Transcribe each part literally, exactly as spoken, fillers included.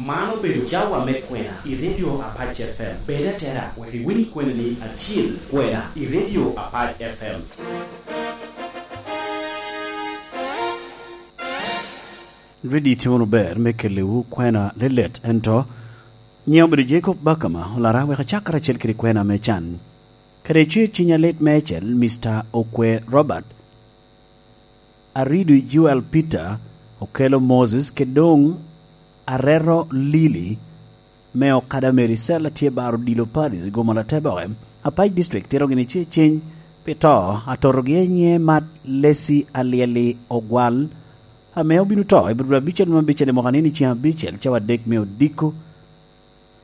Man obedo cawa me kwena i Radio Apac F M. Bed atera wek iwiny kwenani acil, kwena i Radio Apac F M. Ridi tye wunu ber me kelliwu kwena lelet, ento nyiŋ obedo Jacob Bakama, olara wek acak karacel kede kwena me can. Kede cer ciny alit meicel, Mister Okwe Robert, Arido Joel Peter, Okelo Moses, kede doŋ Areto Lili, me Okada Mary Cell a tye baro odilo Paris i Gomola Teboke, Apac District tito gini cer ciny pi to a totogi a nyiŋe Mat Lesi Alyeli Ogwal, ame obino to i Abril abicel me abicel i mwaka ni i ceng abicel cawa adek me odiko.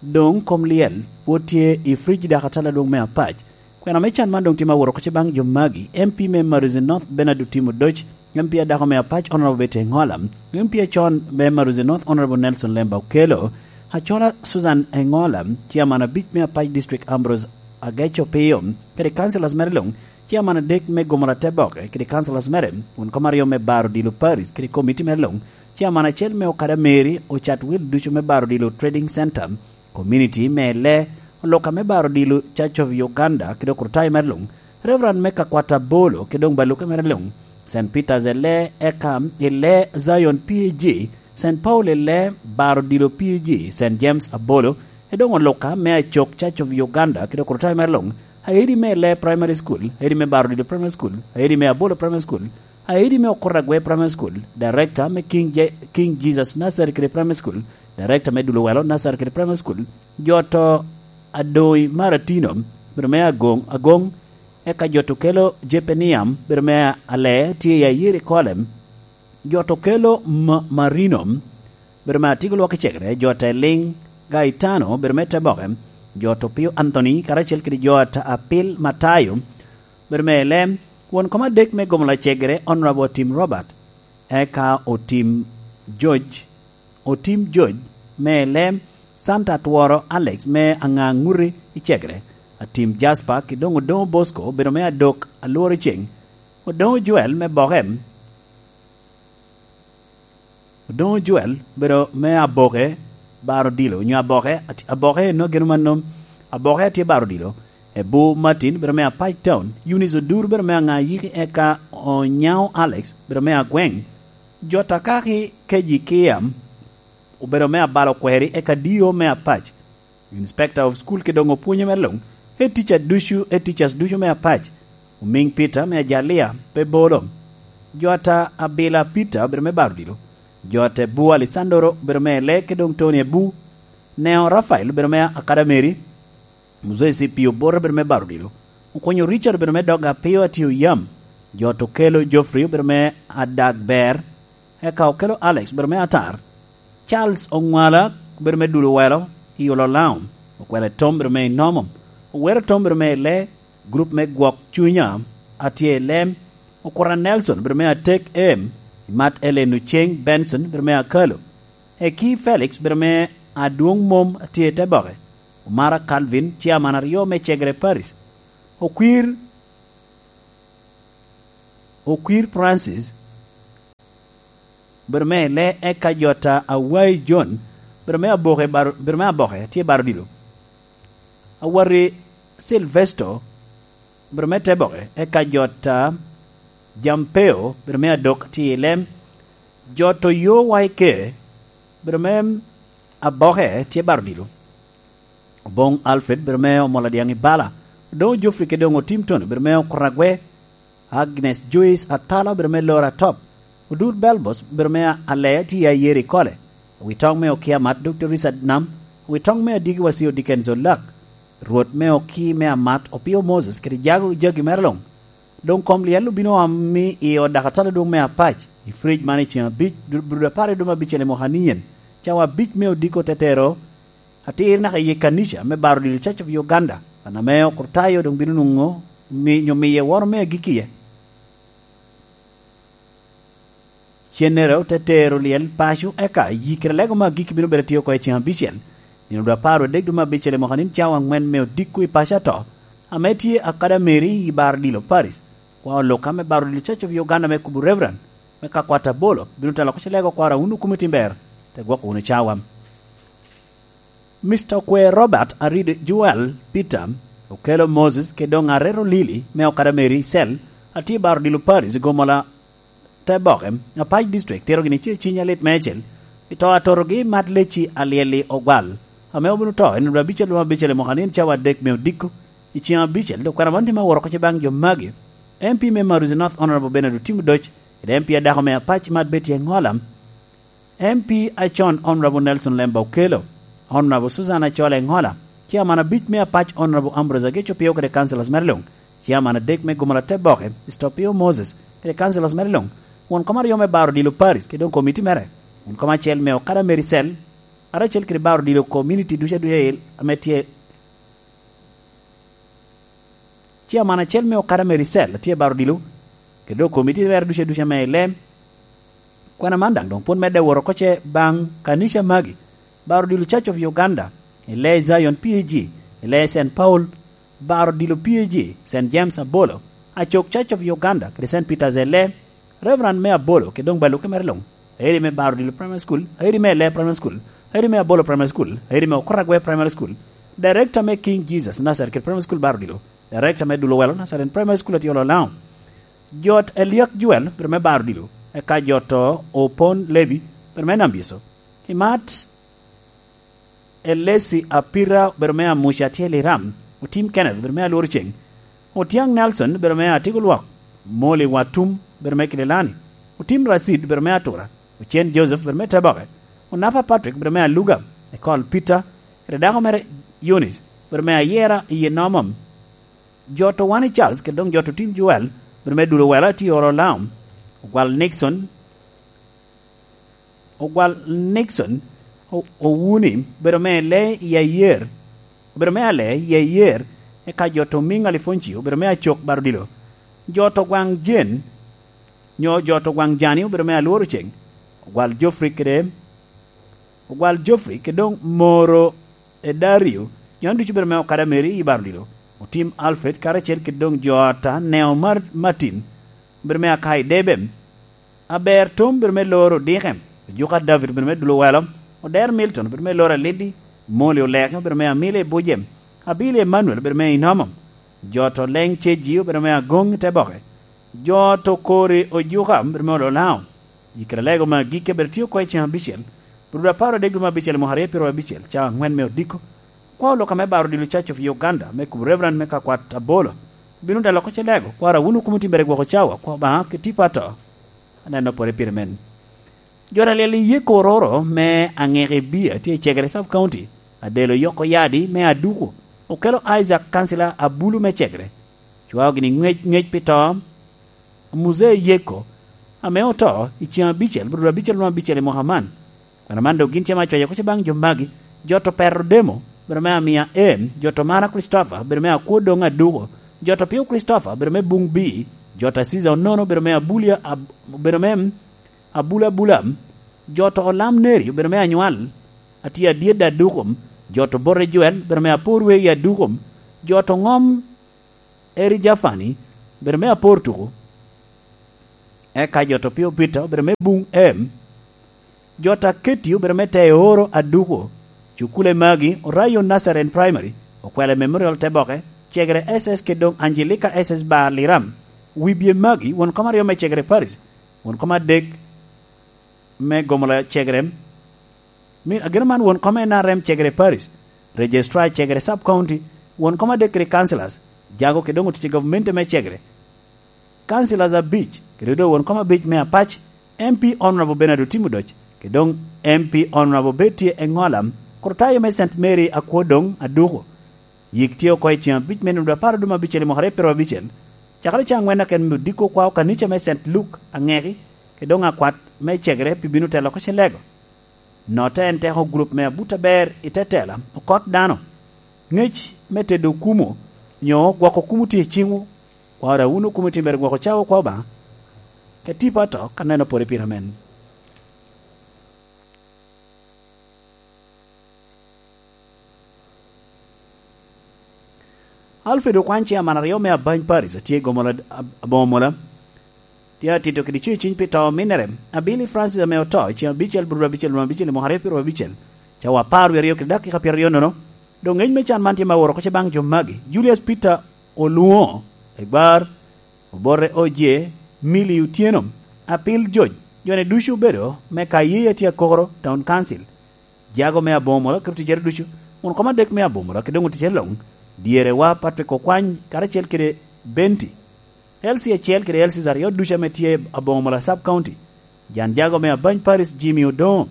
Doŋ kom lyel pwod tye i Frijida Katala Adwoŋ me Apac. Kwena me can man doŋ tye ma wot oko ce baŋ jo magi: M P me Maruzi North, Bernard Otim Odoc, M P adako me Apac, Honorable Betty Engola, M P acon me Maruzi North, Honorable Nelson Lemba Okello, Acola Susan Engola, Chairman abic me Apac District, Ambrose Ageco Piyo, kede councillors mere luŋ, Chairman adek me Gomola Teboke kede councillors mere, won kom aryo me baro odilo Paris kede komiti mere luŋ, Chairman acel me Okada Mary, Ocatwil ducu me baro odilo Trading Center, Community me Ele, Oluka me baro odilo Church of Uganda kede okrutayo mere luŋ, Reverend me Kakwata Bolo kede doŋ baluke mere luŋ, Saint Peter's Ele, eka Ele Zion P A G, Saint Paul Ele, baro odilo P A G, Saint James Abolo, e doŋ Oluka me Acok Church of Uganda kede okrutayo mere luŋ, Aedi me Ele Primary School, Aedi me baro odilo Primary School, Aedi me Abolo Primary School, Aedi me Okuragwe Primary School, Director me King Je-, King Jesus Nursery kede Primary School, Director me Dulowelo Nursery kede Primary School, jo to Adoi Maratino, bedo me Agoŋ, Agoŋ, eka jo to Kelo Jepeniam, bedo me Ale, tye i Ayiri Kolem, jo to Kelo Ma-, Marino, bedo me Atigo Lwak Icegere, jo to Eliŋ Gaetano, bedo me Teboke, jo to Pio Anthony, karacel kede jo to Apil Matayo, bedo me Ele, won kom adek me Gomola Icegere, Honorable Otim Robert, eka Otim George, Otim George me Ele, Santa Atworo Alex me Aŋaŋuti Icegere, Atim Jasper, kede doŋ Odoŋo Bosco, bedo me Adok Alworo Ceng, Odoŋo Joel me Boke, Odoŋo Joel, bedo me Aboke, baro odilo, onyo Aboke, at-, Aboke eno geno manno, Aboke a tye baro odilo, Ebu Martin, bedo me Apac Town, Eunice Odur, bedo me Aŋayiki, eka Onyaŋo Alex, bedo me Agweŋ, jo to Akaki Keji Kiam, obedo me Abalo Kweri, eka D O me Apac, Inspector of School kede doŋ opwonye mere luŋ, Head Teacher ducu, Head Teachers ducu me Apac, Omiŋ Peter me Ajalia, pe bolo. Jo ata Abila Peter obedo me baro odilo. Jo ata Ebu Alessandro obedo me Ele kede doŋ Tony Ebu. Neo Rafael obedo me Akada Mary. Moses Ipio Bota obedo me baro odilo. Okonyo Richard obedo me Doga Apio Atio Yam. Jo ata Okelo Geoffrey obedo me Adag Ber. Eka Okelo Alex obedo me Atar. Charles Oŋwala obedo me Dul Owelo i Ololao. Okwele Tom obedo me Inomo. Owero Tom obedo me Ele. Gurup me Gwok Cunya a tye i Lem. Okura Nelson obedo me Atek Em. Imat Ellen Oceng Benson obedo me Akalo. Eki Felix obedo me Adwoŋ Mom a tye i Teboke. Omara Calvin, Chairman aryo me Cegere Paris. Okwir, Okwir Francis, bedo me Ele, eka jo ata Awai John, bedo me Aboke baro-, bedo me Aboke tye baro odilo. Awati Silvesto, bedo me Teboke, eka jo ata Jampeo, bedo me Adok tye i Lem. Jo to Yo Waike, bedo me Aboke tye baro odilo. Oboŋ Alfred, bedo me Omola Dyaŋ i Bala. Odoŋo Geoffrey kede doŋ Otim Tony, bedo me Okuragwe. Agnes Joyce Atala, obedo me Lora Top. Odur Belbos, obedo me Alea, tye i Ayeri Kole. Owitoŋ me Okia Amat, Doktor Richard Nam. Owitoŋ me Adiki Wasio, Dickens Olak. Rwot me Oki me Amat, Opio Moses, kede jago jagi mere luŋ. Doŋ kom lyel obino oam i ot dakatala adwoŋ me Apac, i Frej man i ceŋ abic, du-, Abril apar i dwe me abicel i mwaka ni en. Cawa abic me odiko te tero atir naka i kanica me baro odilo Church of Uganda, kan ame okrutayo doŋ bino nwoŋo mi-, nyo miye woro me agikkie. Cennere ote tero lyel paco, eka yikere lego me agikki bino bedo tye oko i ceŋ abicel, nino dwe apar adek dwe me abicel i mwaka nin cawa aŋwen me odiko i paco ato, ame tye akada Mary i baro odilo Paris. Kwa oluka me baro odilo Church of Uganda me kubo Reverend me ka kwat abolo bino telo oko ci lego kwara wun okume tim ber, te gwoko wunu cawa. Mister Okwer Robert Arid Joel Peter, Okelo Moses kede doŋ Arero Lili me Okada Mary Cell, atye baro dilo Paris i gomola te boke, Apac District, tito gini ce ciny alit meicel i to atorogi Mat Leci Alyeli Ogwal, ame obino to i nino abicel lwom abicel i mwaka ni en cawa adek me odiko. I ceng abicel, dok kwena man tye me woro oko ce baŋ jo magi: M P me Maruzi North, Honorable Bernard Otim Odoc, kede M P adako me Apac Mat Betty Engola, M P acon, Honorable Nelson Lemba Okelo, Honorable Susan Acol Engola, Chairman abic me Apac, Honorable Ambrose Ageco Pio kede councillors mere luŋ, Chairman adek me Gomola Teboke, Mister Pio Moses, kede councillors mere luŋ, won kom aryo me Baro Dilo Parish, kede doŋ komiti mere, won kom acel me Okada Mary Cell, karacel kede Baro Dilo Community ducu aduca el ame tye Chairman acel me Okada Mary Cell tye baro dilo, kede doŋ komiti mere ducu aduca me i lem. Kwena man daŋ doŋ pwod medde woro oko ce baŋ kanica magi, baro dilo Church of Uganda, i lee Zion P A G, i lee Saint Paul, baro dilo P A G, Saint James Abolo, Acok Church of Uganda, kede Saint Peter's i lee, Reverend me Abolo, kede doŋ baluke mere luŋ, airi me Baro Dilo Primary School, airi me Lee Primary School, airi me Abolo Primary School, airi me Okoragwe Primary School, Director me King Jesus Nazareth kede Primary School Baro Dilo, Director me Dulo Welo Nazareth Primary School, Atyolo Lao. Jot Eliak Joel, biro me Baro Dilo, eka jot to Opon Levi, biro me Nambyeso. Imat Elesi Apira, obedo me Amuca, tye i Liram. Otim Kenneth, obedo me Alworo Ceng. Otiaŋ Nelson, obedo me Atiko Lwok. Moli Watum, obedo me Kilelani. Otim Racid, obedo me Atura. Ocen Joseph, obedo me Teboke. Onapa Patrick, obedo me Aluga. Ekol Peter, kede dako mere Eunice, obedo me Ayera i Nomom. Jot Owani Charles, kede doŋ jot Otim Joel, obedo me Dulo Wela, tye i Oro Laum. Ogwal Nixon, Ogwal Nixon, O-, Owuni, obedo me Lee i Ayer, obedo me Ale i Ayer, eka jot Omiŋ Alifoncio, obedo me Acok Baro Dilo. Jot Ogwaŋ Jen, nyo jot Ogwaŋ Jani, obedo me Alworo Ceng. Ogwal Geoffrey kede, Ogwal Geoffrey kede doŋ Moro e Dario, jo ducu obedo me Okada Mary i Baro Dilo. Otim Alfred karacel kede doŋ jot Aneo Mar-, Martin, obedo me Akai Debem. Aber Tom, obedo me Loro Dikem. Ojuka David, obedo me Dulo Welo. Oder Milton, obedo me Loro Alidi. Moli Oleke, obedo me Amili Bujem. Abili Emmanuel, obedo me Inomom. Jot Oleŋ Ceji, obedo me Agoŋ i Teboke. Jot Okori Ojuka, obedo me Ololao. I kare lego me agikki, obedo tye oko i ceng abicel, Bruda apar adek dwe me abicel i mwaka aryo pyeraryo abicel, cawa aŋwen me odiko. Kwao lok ame Baro Dilo Church of Uganda, me kubo Reverend me Kakwat Abolo, bino dalo oko ce lego, kwaro awuno kumo timbere gwoko cawa, kwa Obaŋa kede tipo ato. Aneno pore pire men. Jo alyel i Yeko Ororo me Aŋeke Bia tye i Cegere Sub County, Adelo Yoko Yadi me Aduku, Okelo Isaac, kancila Abulu me Cegere, cwao gini ŋec, ŋec pi to Muzee Yeko, ame oto i ceng abicel, brudo abicel nwoŋo abicel i mwaka man. Kwena man dok gin ce me acwayo oko ce baŋ jo magi: jot Opero Demo, bedo me Amia Em, jot Omara Christopher, bedo me Akwo Doŋ Aduko, jot Opio Christopher, bedo me Buŋ Bii, jot Aziza Onono, bedo me Abulia Ab-, bedo me Abula Abula, jot Olam Neri, bedo me Anywal, atye adyet Aduko, jot Obote Joel, bedo me Apor Wei Aduko, jot Oŋom Eri Jafani, bedo me Apor Tuku, eka jot Opio Peter, bedo me Buŋ Em, jot Aketi, bedo me Teoro Aduko, cukule magi, Orayo Nazarene Primary, Okwele Memorial Teboke, Cegere S S kede doŋ Angelica S S Bar Liram, wibye magi, won kom aryo me Cegere Parish, won kom adek me Gomola Cegere, mi ageno man won kom N R M Cegere Parish, Registrar Cegere Sub County, won kom adek kede councillors, jago kede doŋ otic i gavumenti me Cegere, councillors abic, kede doŋ won kom abic me Apac, M P Honorable Bernard Otim Odoc, kede doŋ M P Honorable Betty Engola, Kurtayo me Saint Mary Akwo Doŋ Aduko. Yik tye oko i ceng abic me nino dwe apar dwe me abicel i mwaka aryo pyeraryo abicel, cakere cawa aŋwen aken me odiko kwao kanica me Saint Luke Aŋeki, kede doŋ akwat me Cegere pi bino telo oko ce lego. Notte en teko gurup me abut aber i te tela, okot dano. Ŋec me tedo okumo, nyo gwoko okumo tye i ciŋwu, kwaro awuno okumo tye mere gwoko cawa kwa Obaŋa, ka tipo ato ka neno pore pire men. Alfred Okwan, chairman aryo me Abany Parish, atye i Gomola, Ab-, Aboŋo Mola. Tye atito kede cwiny cwiny pi to ominere, Abili Francis ame oto i ceng abicel, brudo abicel, lwon abicel, i mwaka aryo pyeraryo abicel. Cawa apar wie aryo kede dakika pyeraryo nono, doŋ ŋec me can man tye ma woro oko ce baŋ jo magi: Julius Peter Oluŋo, Egbar, Obote Oje, Milly Otyeno, Apil Joc. Jo-ni ducu obedo me Kayeya tye Akokoro Town Council. Jago me Aboŋo Mola keto ticcere ducu, won kom adek me Aboŋo Mola kede doŋ oticcere luŋ, dyerewa Patrick Okwany karacel kede Benti, L C acel kede L Cs aryo ducu ame tye Aboŋo Mola Sub County, jan jago me Abany Paris Jimmy Odoŋo,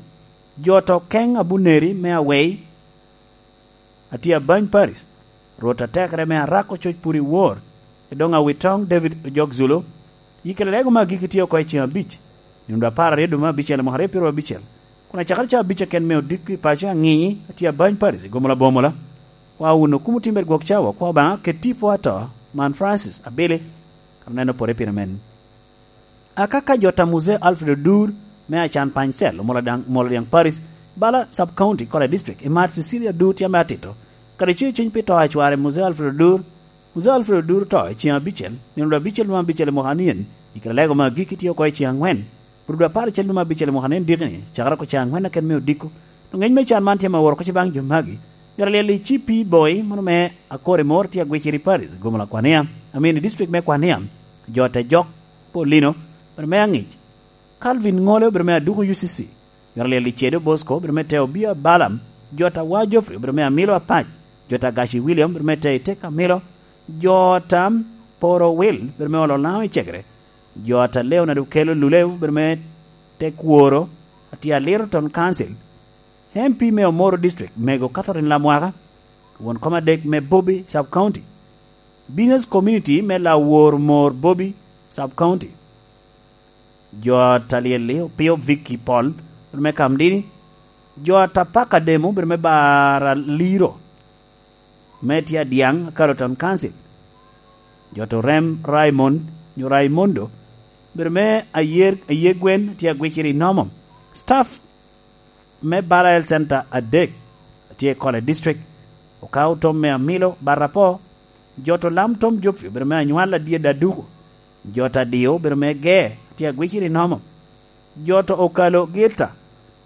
jo to Keŋ Abuneri me Awei, atye Abany Paris, Rwot atekere me Arako Coc Puri Wor, edoŋ Awitoŋ David Ojok Zulu. Yikere lego me agikki tye oko i ceŋ abic, nino apar aryo dwe me abicel i mwaka aryo pyeraryo abicel, kun acakere ca abic aken me odiko i paco aŋi, atye Abany Paris i Gomola Bomola. Kwa wun okumo timber gwok cawa, kwa Obaŋa ket tipo ato man Francis Abili, kan oneno pore pire men. Akaka jot a Muzee Alfred Odur me Acan Panycel, Omoladiaŋ, Omoladiaŋ Parish, Bala Sub County, Kole District, i mar Cecilia Odur tye ame atito, kadi cuyo cwiny pi to a cware Muzee Alfred Odur. Muzee Alfred Odur oto i ceŋ abicel, nino dwe abicel me abicel i mwaka anien, i kare lego me agikki tye oko i ceŋ aŋwen, pwod dwe apar acel dwe me abicel i mwaka anien dikini, cakere oko ceŋ aŋwen aken me odiko. Doŋ ŋec me can man tye ma woro oko ce baŋ jo magi. Myero alyel i C P Boy, mano me Akori Mor tye agwiciri Parish, Gomola Kwania, amin i district me Kwania, jo te jok, Paulino, obedo me aŋic. Calvin Ŋole obedo me Aduku U C C. Myero alyel i Cedo Bosco obedo me Teo Bia Balaam. Jot a Wa Geoffrey obedo me Amilo Apac. Jot a Gaci William obedo me Teo Itek Amilo. Jot a Poro Will obedo me Olo Laŋo i Cegere. Jot a Leonard Okello Luleu obedo me Tek Woro, atye Aliro Town Council. M P me Omoro District, Mego Catherine Lamwaka, won kom adek me Bobi Sub County. Business Community me Lawor Mor Bobi Sub County. Jo a talyel-li, Opio Vicky Paul, me Kamdini. Jo a Tapaka Demo, obedo me Bara Liro, me tye Adiaŋ, Akalo Town Council. Jo to Rem Raymond, nyo Raimondo, obedo me Ayer, Ayer Gwen, tye Agwiciri Nomo. Staff me Bala Health Center adek, tye i Kole District, okawo tom me Amilo, Barapo. Jo to Lam Tom Joffrey, obedo me Anywal Adye Daduku. Jo to Adio, obedo me Ge, tye Agwiciri Nomo. Jo to Okalo Gilta,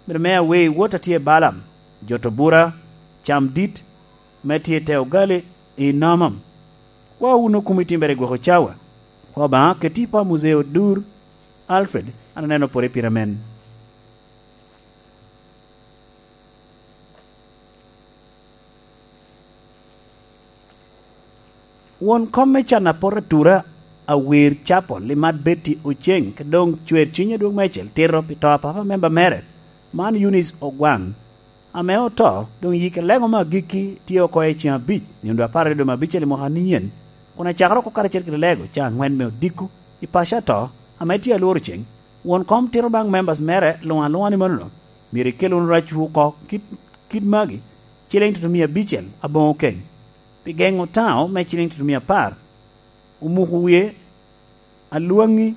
obedo me Awei Wot, atye Balam. Jo to Bura, Cam Dit, me tye te Ogali i Nomo. Kwa wun okumo i timbere gwoko cawa. Kwa Obaŋa ket tipo a Muzee Odur Alfred, an aneno pore pire men. Won kom me can apot atura, Awir Chapel, Limat Betty Oceng, ke doŋ cwer cwiny adwoŋ meicel tito pi to a papa memba mere, man Eunice Ogwaŋ, ame oto, doŋ yike lego me agikki tye oko i ceŋ abic, nino dwe apar aryo dwe me abicel i mwaka anien, kun acakere oko karacel kede lego ceŋ aŋwen me odiko i paco ato, ame tye alworo ceŋ. Won kom tito baŋ members mere luŋ aluŋa ni manono, myero ikel wunu racwu oko kit, kit magi, ciliŋ tutumia abicel aboŋo keny. Pi geŋo taŋo me ciliŋ tutumia apar, omuko wie, alwaŋi,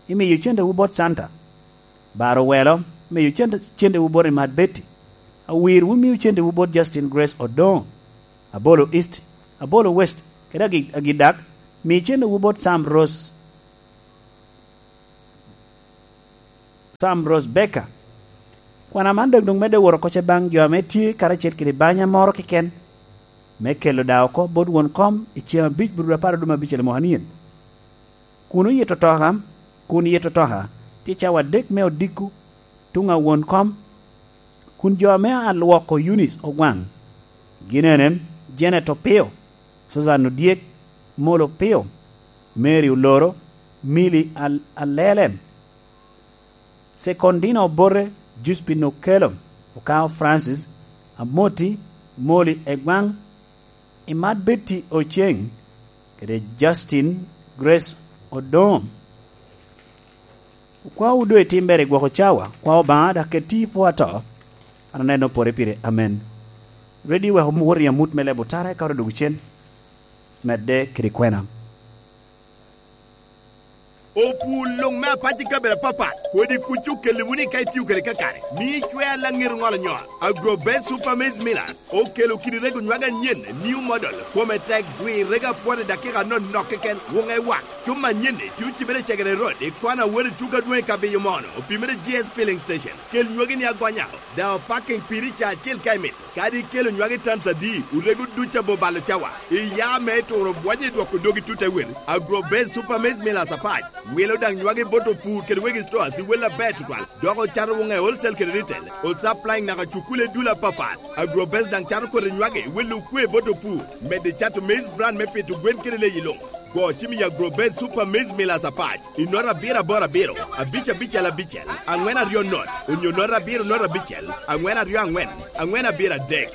imiyo cendewu bot Santa. Baro welo, imiyo cente, cendewu bot Imat Betty. Awir, wun miyo cendewu bot Justin Grace Odoŋo. Abolo East, Abolo West, kede agi-, Agidak, mi cendewu bot Sam Rose, Sam Rose Becker. Kwana man dok doŋ medde woro oko ce baŋ jo ame tye karacel kede banya moro keken, me kelo da oko bot won kom i ceŋ abic bur apar oduma abicel i mwaka nien. Kun oyito toka, kun yito toka, tye cawa adek me odiko, tuŋ a won kom, kun jo ame alwoko Eunice Ogwaŋ, gin ene, Janet Opio, Susan Odyek, Molo Opio, Mary Oloro, Milly Al-, Alele, Secondina Obote, Juspin Okello, Okao Francis, Amoti, Moli Egwaŋ, Imat Betty Oceng, kede Justin Grace Odoŋo. Okwawu doŋ itimbere i gwoko cawa, kwa Obaŋa, dok ket ti i pwo ato, an aneno pore pire. Amen. Ready, wek wot i amut me lebo tara, eka odwogo cen, medde kede kwena. Opur luŋ me apac i kabedo apapat, kodi kuc okelle wunu i ka itio kede kakare, mio icwea laŋet oŋolo nyoo. Agrobest Super Maize Millers okelo kidi rego nywage anyen, new model, kome tek, dwi rego apwot i dakika anonok keken, wuŋe wak. Cuma anyen-ni tye ocibere i Cegere Road, i kona wot i tuko adwoŋ i Kabiyo Mono, opimere G S Filling Station. Kel nywagi ni agonya, daŋ opaking piri ca acel ka imito. Kadi ikelo nywagi tans adi, orego duc abo balo cawa. Iya me turo bwonyo i dwoko dogi tut ewel. Agrobest Super Maize Millers apac wilo daŋ nywagi bot opur kede wegi stores i wel aber tutwal, dok ocato wuŋe wholesale kede retail, o supplying naka cukule dul apapat. Agrobest daŋ cato kodi nywagi wilo okwe bot opur, medo cato maize bran me pito gwen kede leyi luŋ. Go cim i Agrobest Super Maize Millers apac i nota abiro aboro abiro, abic abicel abicel, aŋwen aryo not, onyo nota abiro not abicel, aŋwen aryo aŋwen, aŋwen abiro adek.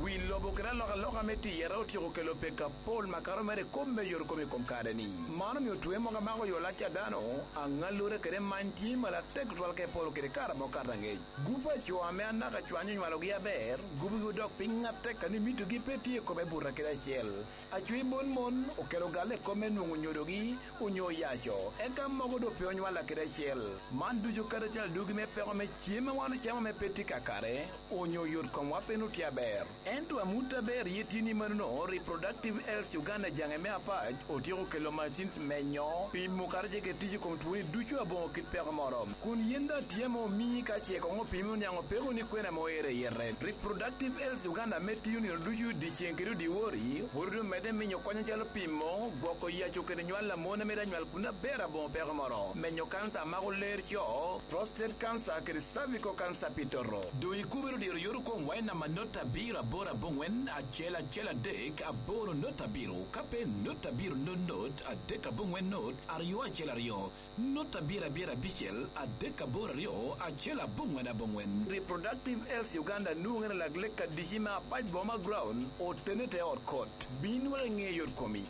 Wi lobo kede alokaloka me tiyere otyeko kelo pek apol makato mere i kom me yot kom i kom kare-ni. Man omio twe mogo amako yo lac a dano, aŋallure kede many tye malo atek tutwal ka iporo kede kare amo kato aŋec. Gup a co ame anaka cwanyo onywalogi aber, gubogi odok piny atek a ni mitogi pe tye i kome buta kede acel. Acwi mon mon okelo galle i kom me nwoŋo nyodogi onyo oyaco, eka mogo doŋ pe onywalla kede acel. Man ducu kadi acel adugi me peko me cem a wan ocamo ame pe tye kakare, onyo yot komwa pe nwoŋo tye aber. Ento amut aber ye tye ni manono, Reproductive Health Uganda jaŋe me apac otyeko kelo machines menyo, pimo kadi ce kede tic i kom twoni ducu aboŋo kit peko moro. Kun yen daŋ tye ame omii ka ce koŋ opimi oniaŋ opeko ni kwene ame oero i yete. Reproductive Health Uganda ame tiyo nino ducu dyeceŋ kede odyewor, pwod omedde minyo kony acalo pimo, gwoko yaco kede nywal a mon a mito anywal kun aber aboŋo peko moro, menyo kanca a mako ler co, prostate cancer kede cervical cancer pi toto. Doŋ ikubere odiro yot okon wai namba not abiro aboro aboŋwen acel acel adek aboro not abiro, ka pe not abiro not not adek aboŋwen not aryo acel aryo. Not abiro abiro abicel adek aboro aryo acel aboŋwen aboŋwen. Reproductive Health Uganda nwoŋere lak lek adici me apac boma ground, otene te ot kot. Bin wek iŋe yot komi.